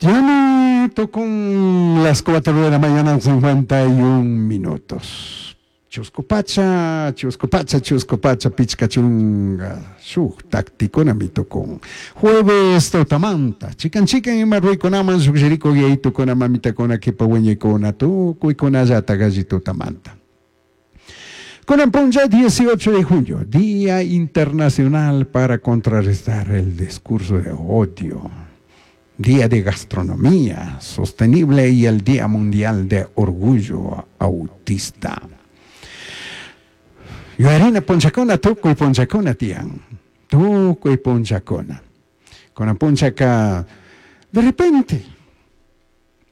Tiene con las 4 de la mañana 51 minutos. Chuscu pacha, chuscu pacha, chuscu pacha, pichca chunga, shuk taktikunami tukun. Jueves tutamanta, chikan chikan ima ruykunaman llukshirikuk yayitukuna, mamitakuna, kipa wiñaykuna, tukuykunallatak alli tutamanta. Kunan punlla 18 de junio, Día Internacional para Contrarrestar el Discurso de Odio, Día de Gastronomía Sostenible y el Día Mundial de Orgullo Autista. Yuyarina punllakuna tukuy punllakuna tiyan, tukuy punllakuna. Kunan punllaka de repente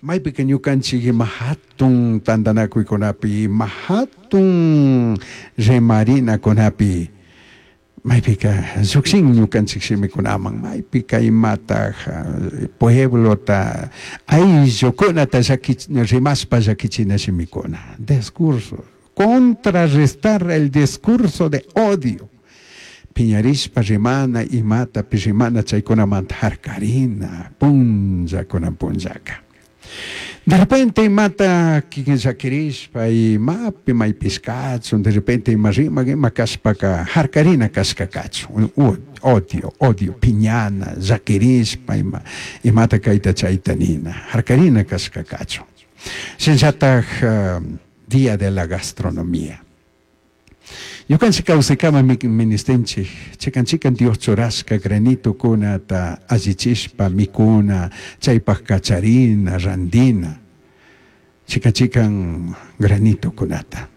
maypika ñukanchik ima hatun tantanakuykunapi, ima hatun rimarinakunapi maypika llukshin ñukanchik shimikunaman, maypika imataj pueblota ayllukunata llaki rimashpa llakichina shimikuna, discurso, contrarrestar el discurso de odio, piñarishpa rimana imatapish rimana chaykunamanta harkarina punlla kunan punllaka. De repente imata kikin llakirishpa imapi maypish kachun, de repente ima rimak ima kashpaka harkarina kashka kachun, odio, odio, piñana, llakirishpa ima, imata kayta chayta nina, harkarina kashka kachun. Shinallatak Día de la Gastronomía. Ñukanchik kawsaykama ministinchik, chikan chikan Dios churashka granitokunata allichishpa mikuna, chaypak kacharina, randina, chikan chikan granitokunata.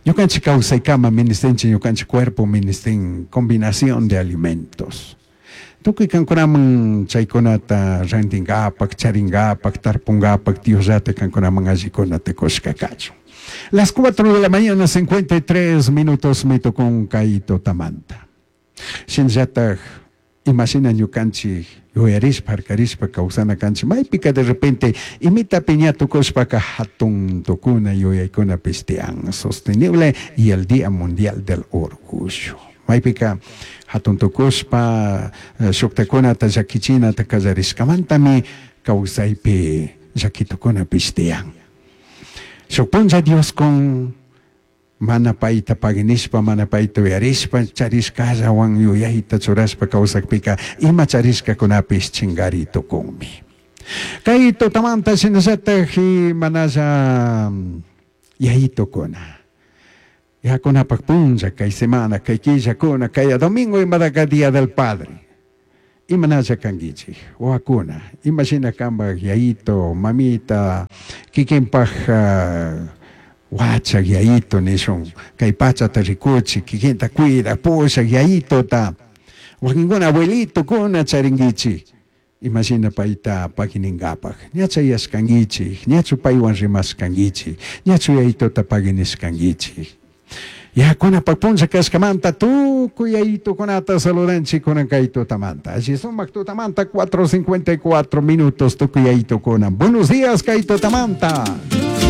Ñukanchik kawsaykama ministinchik, ñukanchik cuerpo ministin combinación de alimentos. Tukuy kankunaman chaykunata rantinkapak, charinkapak, tarpunkapak, Diosllata kankunaman allikunata kushka kachun. Las 4 de la mañana, 53 minutos mi tukun kay tutamanta. Shinallatak imashina ñukanchik yuyarishpa, harkarishpa kawsana kanchik, maypika de repente imitapi ña tukushpaka hatun tukuna yuyaykunapish tiyan, sostenible y el Día Mundial del Orgullo. Maypika hatun tukushpa shuktakunata llakichinata kallarishkamantami kawsaypi llakitukunapish tiyan. Shuk punlla Dios con mana payta paginishpa, mana payta uyarishpa, charishkallawan yuyayta churashpa kawsakpika ima charishkakunapish chingari tukunmi. Kay tutamanta shinallatak manalla yayitukuna. Yakunapak punlla, kay semana, kay killakuna, kay domingo imadaka Día del Padre. Imanalla kankichik, wawakuna, imashina kanpak yayito, mamita, kikinpak wachak yayito nishun, kay pachata rikuchik, kikinta cuidak, pushak yayitota, wakinkuna abuelitokuna charinkichik, imashina payta pagininkapak, ña chayashkankichik, ñachu paywan rimashkankichik, ñachu yayitota paginishkankichik. Yakunapak punlla kashkamanta tukuy yayitukunata saludanchik kunan kay tutamanta. Alli sumak tutamanta 4:54 minutos tukuy yayitukuna. Buenos días kay tutamanta.